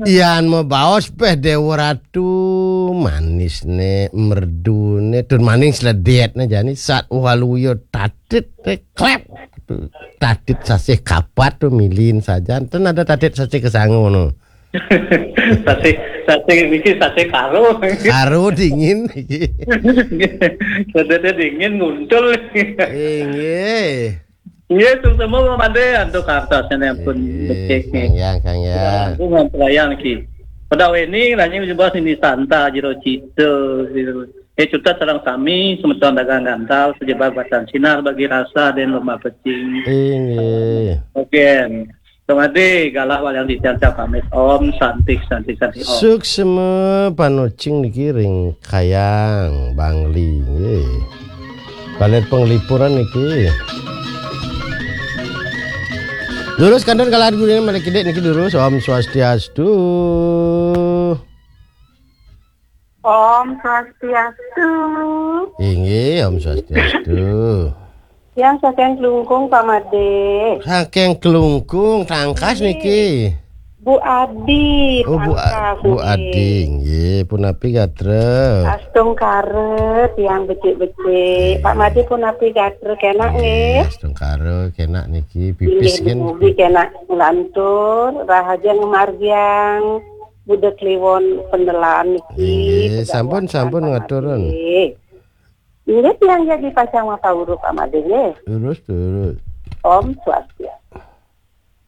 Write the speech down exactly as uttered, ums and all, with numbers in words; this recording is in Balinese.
Yan mabaos peh Dewa Ratu, manisne, merdune, tur maning sledetne jani sat waluya tatit, eh, klep. Tatit sasih kapat tu milihin sajan. Ten ada tatit sasih kesanga ngono. Sasih, sasih niki sasih karo. Karo dingin iki. Sedete dingin nguntul. Inggih. Nggih, suksma Pak Made antuk kartosnya pun Inggih, becik Kang Yang, Kang Yang. Aku ngamprayan iki. Pada ini nanya jebas ini santa jero cita gitu. Eh, cutet sareng sami semeton dagang gantal sejebar batan sinar bagi rasa dan lomba pecing. Inggih. Oke. Sumadi galah walian titiang pamit. Om Santi Santi Santi Om. Suksma panucing niki ring Kayang Bangli nggih. Baled penglipuran niki. Durus kantun galah gurine malih kidik niki durus. Om Swastiastu. Om Swastiastu. Inggih, Om Swastiastu. Yang saking Klungkung Pak Made. Saking Klungkung Tangkas niki. Bu Adi. Oh, Bu, Tangkas Bu nggih. Adi nggih, punapi gatra? Astungkara tiang becik-becik. Pak Made punapi gatra kenak nggih. Astungkara kenak niki pipis Inggih nggih. Mugi kenak lantur rahaja ngemargiang Buda Kliwon pendelaan niki. Inggih, Pegawe sampun, sampun Pak ngaturun. Made. Inggih tiang jadi pacang mapauruk Pak Made nggih. Terus, terus. Om Swastiastu.